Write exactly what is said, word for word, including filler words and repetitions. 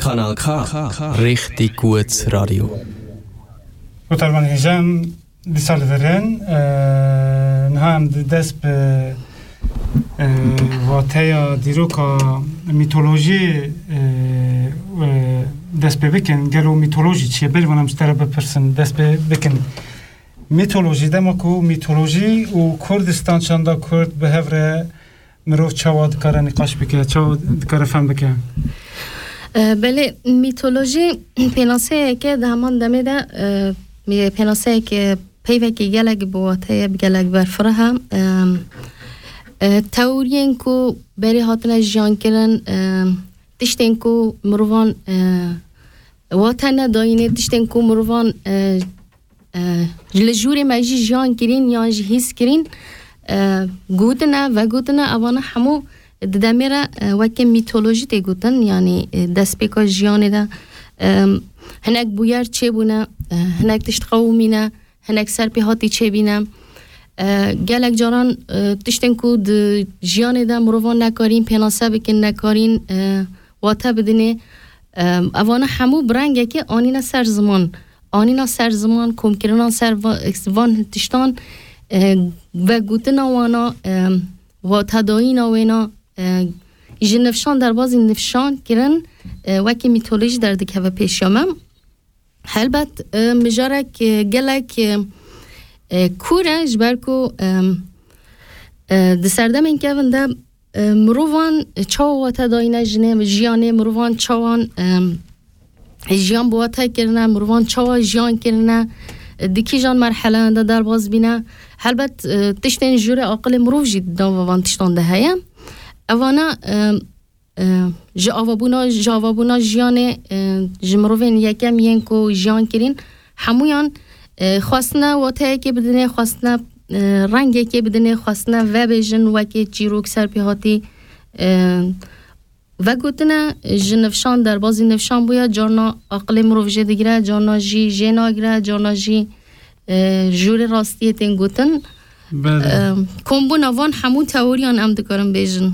Kanal K, Richtig gut Radio. Gutarban hêjem, dîsa li vir in, e, niha em di dest bi, e, wateya dîroka mîtolojiyê, e, e, dest pê bikin. Gelo mîtolojî çi ye? Berî van em ji te re bipirsin, dest pê bikin. Mîtolojî, dema ku mîtolojî û Kurdistan, çanda Kurd bi hev re mirov çawa dikare nîqaş bike, çawa dikare fem bike? E, belê, mîtolojî pênaseyeke di heman demê de, e, mî-, pênaseyeke peyvekî gelek bi wate ye, bi gelek berfireh e. E, e, teoriyên ku berê hatine jiyan kirin, e, tiştên ku mirovan, e, wate nedayînê, tiştên ku mirovan, e, e, li jûrê me jî jiyan kirîn yan jî hîs kirîn, e, gotine, vegotine, evana hemû di demê re, e, weke mîtolojî tê gotin, yanî, e, destpêka jiyanê de, e, hinek bûyer çêbûne, e, hinek tişt qewimîne, hinek serpêhatî çêbîne. E, gelek caran, e, tiştên ku di jiyanê de mirovan nekarîn pênase bikin, nekarîn, e, wate bidinê. E, evana hemû bi rengekê anîne ser ziman. Anîna ser ziman, komkirina ser va-, van tiştan, e, vegotina wana, e, watedayîna wêna, e, ji nifşan derbazî nifşan kirin, e, wekî mîtolojî derdikeve pêşiya me. Helbet, e, mijarek, e, gelek, e, e, kûr e, ji ber ku, e, e, di serdemên kevin de, e, mirovan çawa wate dayîne jinê, jiyanê, mirovan çawan, e, jiyan bi wate kirine, mirovan çawa jiyan kirine, e, di kîjan merheleyan de derbas bîne. Helbet, e, tiştên jûrê aqilê mirov jî di nava van tiştan de heye. Evana, e, e, ji avabûna, ji avabûna jiyanê, e, ji mirovên yekem yên ku jiyan kirîn, hemûyan, e, xwestine wateyekê bidinê, xwestine, e, rengekê bidinê, xwestine vebêjin wekê çîrok serpêhatî, e, vegotine ji nifşan derbazî nifşan bûye, carna aqilê mirov jê digire, carna jî jê nagire, carna jî, e, jûrê rastiyê tên gotin. Belê. E, kombûna van hemû teoriyan em dikarin bêjin.